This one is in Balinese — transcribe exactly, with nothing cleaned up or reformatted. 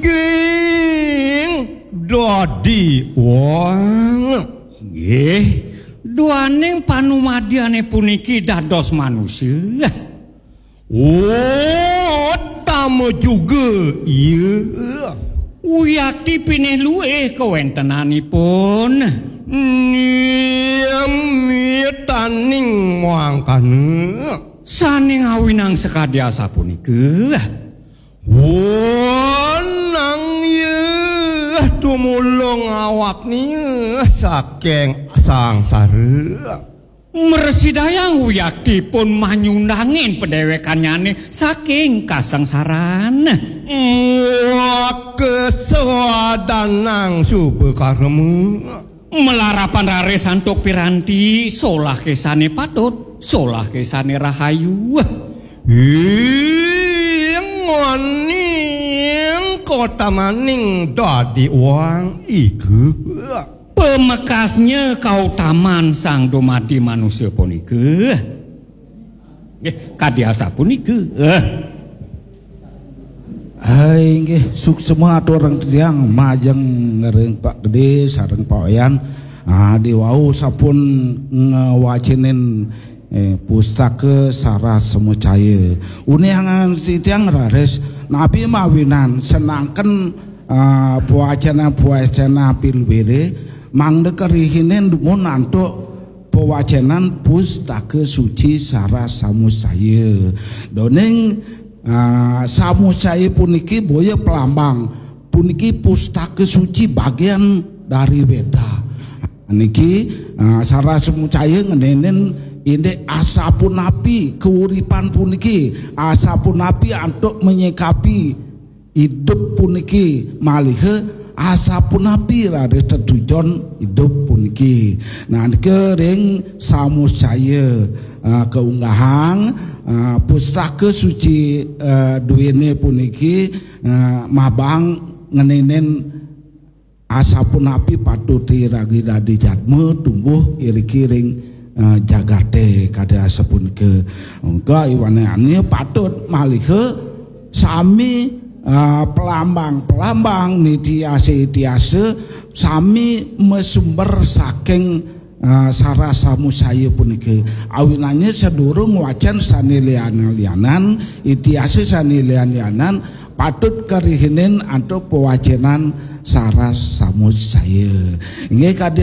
King dadi wong. Nggih, duaning panumadiane puniki dados manusia. Utama juga iya. Uyakti pinih luih kawentenanipun. Niyamitaning mangkana. Sane ngawinang sakadi asapunika. Wonang iya tumulung awaknya saking sangsara. Mresidayang wiyaktipun manyundangin padewekanyane saking kasangsaran. Wah, kesadanang suba karma. Malarapan raris antuk piranti, solah kesane patut, solah kesane rahayu. Ingoning kotamaning dadi wong iku. Pamekasnya kautaman sang dumadi manusia punika. Nggih, kadi asapunika. Eh. Hai, nggih, suksema atur ring tiang majeng ring Pak Gede sareng Pak Wayan. Ah, diwau sampun ngwacenin, eh, pustaka Sarah Samucaya. Uniangan si tiang raris napi mawinan senangken, ah, pawacana-pawacana pilwire mangda karihinin dumun antuk pawacenan pustaka suci Sarah Samucaya. Doning, ah, Samucaya puniki boya pelambang, puniki pustaka suci bagian dari Weda. Niki, ah, Sarah Samucaya ngenenin indik asapunapi keuripan puniki, asapunapi antuk menyikapi idup puniki maliha asapunapi raris tetujon idup puniki. Nah, nika ring Samucaya, ah, kaunggahang, ah, pustaka suci, ah, duene puniki, ah, mabang ngeninin asapunapi patut iragi dadi jadma tumbuh iriki ring, eh, jagate kadi asapunika. Mangka iwanane patut maliha sami, eh, pelambang-pelambang nitiasa-itiasa sami masumber saking, eh, Sarah Samucaya punika. Awinannya sadurung wacan sane lian-lianan, itiasa sane lian-lianan, patut karihinin antuk pawacenan Sarah Samucaya. Inggih kadi